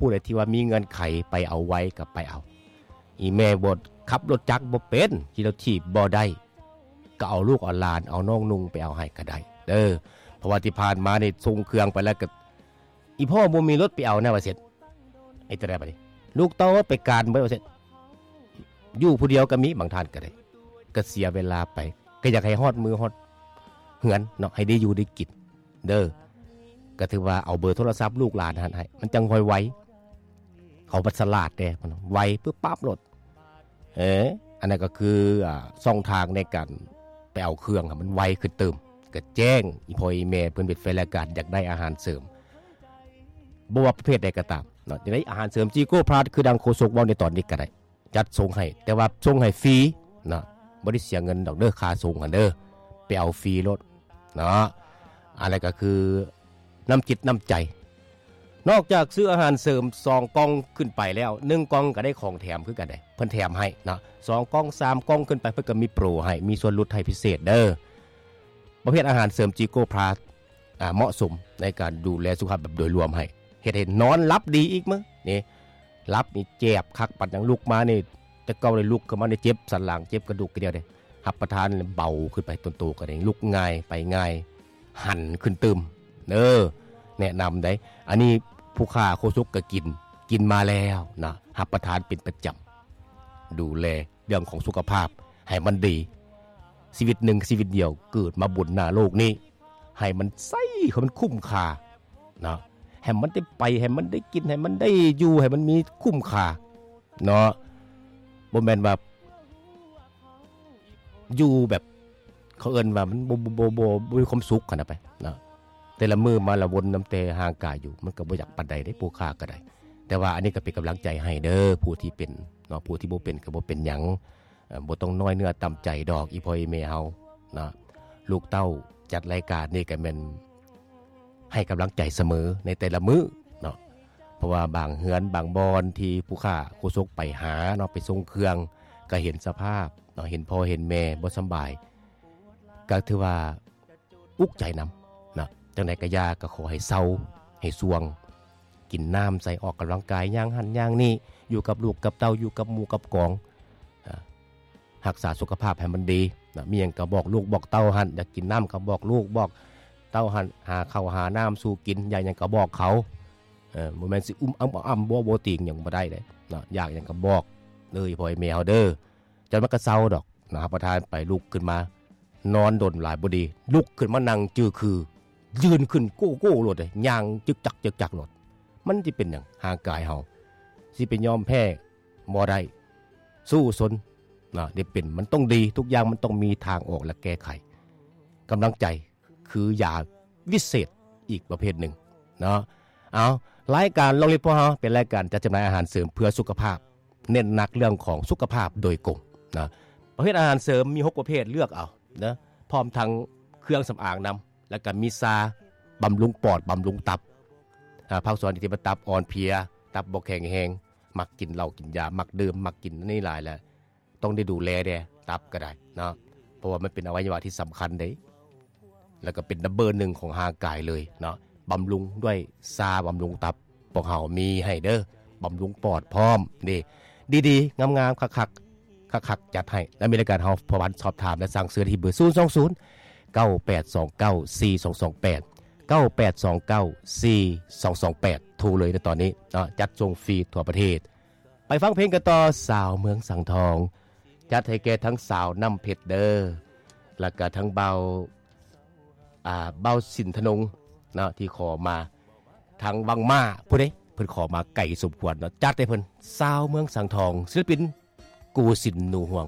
ຜູ້ໃດທີ່ວ່າມີເງື່ອນໄຂໄປເອົາໄວກໍໄປເອົາ. ອີແມ່ບໍ່ຂັບລົດຈັກບໍ່ເປັນ ຂີ່ລົດຖີບບໍ່ໄດ້ ກໍເອົາລູກເອົາຫຼານ ເອົານ້ອງນຸ່ງໄປເອົາໃຫ້ກໍໄດ້ເດີ. ເພາະວ່າທີ່ຜ່ານມານີ້ສົ່ງເຄື່ອງໄປແລ້ວກໍ ອີພໍ່ບໍ່ມີລົດໄປເອົານະວ່າຊັ້ນ. ເຮັດຈັ່ງໃດບັດນີ້? ລູກເຕົ້າໄປການເບິດວ່າຊັ້ນ. ຢູ່ຜູ້ດຽວກໍມີ ບາງທ່ານກໍໄດ້ ກໍເສຍເວລາໄປ ກໍຢາກໃຫ້ຮອດມື້ຮອດເຮືອນເນາະ ໃຫ້ໄດ້ຢູ່ໄດ້ກິນເດີ. ກໍຖືວ່າເອົາເບີໂທລະສັບລູກຫຼານຫັ້ນໃຫ້ ມັນຈັ່ງຄ່ອຍໄວ. ເຂົາບັດສະຫຼາດແດ່ ໄວປຶບປັບໂລດ. ເອີ ອັນນັ້ນກໍຄື ອ່າ ຊ່ອງທາງໃນການໄປເອົາເຄື່ອງໃຫ້ມັນໄວຂຶ້ນຕື່ມ. ກໍແຈ້ງອີ່ພໍ່ອີ່ແມ່ເພິ່ນເປັນແຟນລາຍການ ຢາກໄດ້ອາຫານເສີມ ບໍ່ວ່າປະເພດໃດກໍຕາມເນາະ ຢາກໄດ້ອາຫານເສີມຈີໂກພລັສ ຄືດັ່ງໂຄສົກເວົ້າໃນຕອນນີ້ກໍໄດ້ ຈັດສົ່ງໃຫ້ ແຕ່ວ່າສົ່ງໃຫ້ຟຣີເນາະ ບໍ່ໄດ້ເສຍເງິນດອກເດີ ຄ່າສົ່ງຫັ້ນເດີ ໄປເອົາຟຣີໂລດເນາະ. ອັນນັ້ນກໍຄືນ້ຳຈິດນ້ຳໃຈ. ນອກຈາກຊື້ອາຫານເສີມສອງກ່ອງຂຶ້ນໄປແລ້ວ ໜຶ່ງກ່ອງກໍໄດ້ຂອງແຖມຄືກັນເດ້ ເພິ່ນແຖມໃຫ້ເນາະ ສອງກ່ອງ ສາມກ່ອງຂຶ້ນໄປ ເພິ່ນກໍມີໂປຣໃຫ້ ມີສ່ວນຫຼຸດໃຫ້ພິເສດເດີ. ປະເພດອາຫານເສີມຈີໂກພລັສ ອ່າ ເໝາະສົມໃນການດູແລສຸຂະພາບແບບໂດຍລວມໃຫ້ ເຮັດໃຫ້ນອນຫຼັບດີອີກມື້ນີ້ ຫຼັບນີ້ແຈບຄັກ ປານຫຍັງລຸກມານີ້ ແຕ່ເກົ່າໄດ້ລຸກຂຶ້ນມານີ້ເຈັບສັນຫຼັງ ເຈັບກະດູກກະດຽວເດ້ ຮັບປະທານແລ້ວເບົາຂຶ້ນໄປ ຕົນໂຕກໍໄດ້ລຸກງ່າຍໄປງ່າຍ ຫັນຂຶ້ນຕື່ມເດີ. ແນະນຳໄດ໋ ອັນນີ້ຜູ້ຂ້າໂຄສົກກໍກິນ ກິນມາແລ້ວນະ ຮັບປະທານເປັນປະຈຳ ດູແລເລື່ອງຂອງສຸຂະພາບໃຫ້ມັນດີ. ຊີວິດໜຶ່ງຊີວິດດຽວເກີດມາບົນໜ້າໂລກນີ້ ໃຫ້ມັນໃຊ້ ໃຫ້ມັນຄຸ້ມຄ່າເນາະ ໃຫ້ມັນໄດ້ໄປ ໃຫ້ມັນໄດ້ກິນ ໃຫ້ມັນໄດ້ຢູ່ ໃຫ້ມັນມີຄຸ້ມຄ່າເນາະ. ບໍ່ແມ່ນວ່າຢູ່ແບບ ເຂົາເອີ້ນວ່າມັນບໍ່ ບໍ່ ບໍ່ ບໍ່ ບໍ່ມີຄວາມສຸກຫັ້ນນະໄປເນາະ. ແຕ່ລະມື້ມາລະວົນນຳແຕ່ຮ່າງກາຍຢູ່ ມັນກໍບໍ່ຢາກປານໃດເດ້ ຜູ້ຂ້າກໍໄດ້. ແຕ່ວ່າອັນນີ້ກໍເປັນກຳລັງໃຈໃຫ້ເດີ ຜູ້ທີ່ເປັນເນາະ ຜູ້ທີ່ບໍ່ເປັນກໍບໍ່ເປັນຫຍັງ ເອີ ບໍ່ຕ້ອງນ້ອຍເນື້ອຕ່ຳໃຈດອກ ອີ່ພໍ່ອີ່ແມ່ເຮົາເນາະ. ລູກເຕົ້າຈັດລາຍການນີ້ກໍແມ່ນໃຫ້ກຳລັງໃຈສະເໝີໃນແຕ່ລະມື້ເນາະ ເພາະວ່າບາງເຮືອນບາງບ່ອນທີ່ຜູ້ຂ້າໂຄສົກໄປຫາເນາະ ໄປສົ່ງເຄື່ອງ ກໍເຫັນສະພາບເນາະ ເຫັນພໍ່ເຫັນແມ່ບໍ່ສຳບາຍ ກໍຖືວ່າອຸກໃຈນຳເນາະ. ຈັ່ງໃດກໍຢ່າ ກໍຂໍໃຫ້ເຊົາໃຫ້ຊ່ວງ ກິນນ້ຳໃສ່ ອອກກຳລັງກາຍ ຍ່າງຫັ້ນຍ່າງນີ້ ຢູ່ກັບລູກກັບເຕົ້າ ຢູ່ກັບໝູ່ກັບກອງ ອາ ຮັກສາສຸຂະພາບໃຫ້ມັນດີນະ. ມີຫຍັງກໍບອກລູກບອກເຕົ້າຫັ້ນ ຢາກກິນນ້ຳກໍບອກລູກບອກເຕົ້າຫັ້ນ ຫາເຂົ້າຫານ້ຳສູ່ກິນ ຢາກຫຍັງກໍບອກເຂົາ. ເອີ ບໍ່ແມ່ນຊິອຸ້ມອ້ຳ ບໍ່ ບໍ່ຕີງຫຍັງບໍ່ໄດ້ເດ້ເນາະ. ຢາກຫຍັງກໍບອກເດີ ພໍ່ແມ່ເຮົາເດີ ຈັກໜ່ອຍມັນກໍເຊົາດອກນະ. ຮັບປະທານໄປ ລຸກຂຶ້ນມາ ນອນດົນຫຼາຍບໍ່ດີ ລຸກຂຶ້ນມານັ່ງຈື່ຄື ຢືນຂຶ້ນໂກ້ໂກ້ໂລດເດ້ ຍ່າງຈຶກຈັກຈຶກຈັກໂລດ. ມັນຊິເປັນຫຍັງ? ຮ່າງກາຍເຮົາຊິໄປຍອມແພ້ບໍ່ໄດ້ ສູ້ຊົນນະ ໄດ້ເປັນ ມັນຕ້ອງດີ ທຸກຢ່າງມັນຕ້ອງມີທາງອອກ ແລະ ແກ້ໄຂ. ກຳລັງໃຈຄືຢາວິເສດອີກປະເພດໜຶ່ງເນາະ. ເອົາ ລາຍການລອງລິດພວກເຮົາເປັນລາຍການຈັດຈຳໜ່າຍອາຫານເສີມເພື່ອສຸຂະພາບ ເນັ້ນໜັກເລື່ອງຂອງສຸຂະພາບໂດຍກົງນະ. ປະເພດອາຫານເສີມມີຫົກປະເພດ ເລືອກເອົານະ ພ້ອມທັງເຄື່ອງສຳອາງນຳ ແລ້ວກໍມີຊາບຳລຸງປອດ ບຳລຸງຕັບ. ອາ ພາກສ່ວນທີ່ວ່າຕັບອ່ອນເພຍ ຕັບບໍ່ແຂງແຮງ ມັກກິນເຫຼົ້າກິນຢາ ມັກດື່ມ ມັກກິນອັນນີ້ຫຼາຍ ແລ້ວຕ້ອງໄດ້ດູແລແດ່ ຕັບກໍໄດ້ເນາະ ເພາະວ່າມັນເປັນອະໄວຍະວະທີ່ສຳຄັນເດ້ ແລ້ວກໍເປັນນຳເບີໜຶ່ງຂອງຮ່າງກາຍເລີຍເນາະ. ບຳລຸງດ້ວຍຊາບຳລຸງຕັບ ພວກເຮົາມີໃຫ້ເດີ ບຳລຸງປອດພ້ອມເດ້ ດີໆ ງາມໆ ຄັກໆ ຄັກໆ ຈັດໃຫ້. ແລະ ມີລາຍການເຮົາ ເພື່ອສອບຖາມ ແລະ ສັ່ງຊື້ໄດ້ທີ່ເບີ ສູນສອງສູນ ເກົ້າແປດສອງເກົ້າ ສີ່ສອງສອງແປດ ເກົ້າແປດສອງເກົ້າ ສີ່ສອງສອງແປດ ໂທເລີຍໃນຕອນນີ້ເນາະ ຈັດສົ່ງຟຣີທົ່ວປະເທດ. ໄປຟັງເພງກັນຕໍ່ ສາວເມືອງສັງທອງ ຈັດໃຫ້ແກ່ທັງສາວນ້ຳເພັດເດີ ແລ້ວກະທັງເບົາ ອ່າ ເບົາສິນທະນົງເນາະ ທີ່ຂໍມາ ທາງວັງມ້າພຸ້ນເດ້ ເພິ່ນຂໍມາໄກສົມຄວນເນາະ. ຈັດໃຫ້ເພິ່ນ ສາວເມືອງສັງທອງ ສິລະປິນ ໂກສິນ ໜູຮວງ.